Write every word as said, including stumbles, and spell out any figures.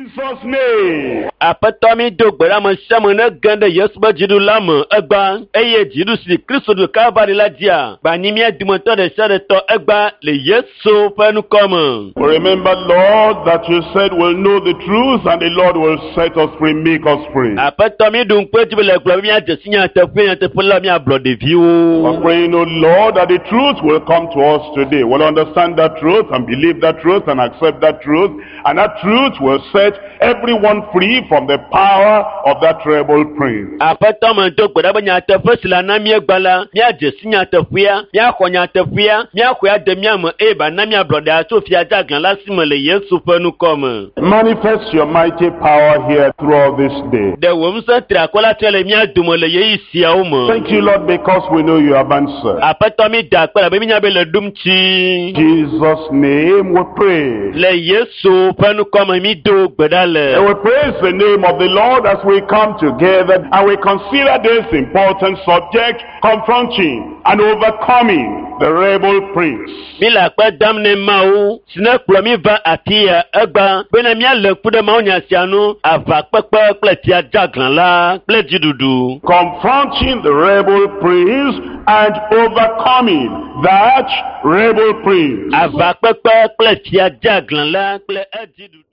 Jesus' name. Aƒetɔ mi do gbe ɖe ame sia ame ne ge ɖe Yesu ƒe dziɖula me egba eye dziɖu si Kristo ɖu Kalvari la dzia, gbanyi mía dometɔ ɖe sia ɖe tɔ egba le Yesu ƒe ŋkɔ me. We remember, Lord, that you said we'll know the truth and the Lord will set us free, make us free. Aƒetɔ mi ɖu ŋku edzi be le gblɔ be míadze si nyateƒe nyateƒe la míablɔ ɖeviwo. We're praying, O Lord, that the truth will come to us today. We'll understand that truth and believe that truth and accept that truth. And that truth will set everyone free from the power of that rebel prince. Aƒetɔ me do gbe ɖa be nyateƒe si le na míegba la, míadze si nyateƒea, míaxɔ nyateƒea, míaxɔe ade mía me eye ba na míablɔɖe tso fia dzeaglã la si me le Yesu ƒe ŋkɔ me. Manifest your mighty power here throughout this day. Ɖe wò ŋusẽ triakɔ la fia le mía dome le ɣeyiɣi siawo me. Thank you, Lord, because we know you have answered. Aƒetɔ mi da akpe labe mínya be le ɖum tsi. Jesus' name we pray. Le Yesu ƒe ŋkɔ me mi do gbe ɖa le. And we praise the name of the Lord as we come together and we consider this important subject, confronting and overcoming the rebel prince. Mi le akpe dam ne Mawu si ne kplɔ mi va afi ya egba bena míalé ŋku ɖe mawunya sia nu aʋakpekpe kple fia dzeaglã la kple dziɖuɖu. Confronting the rebel prince and overcoming that rebel prince. Aʋakpekpe kple fia dzeaglã la kple edziɖuɖu.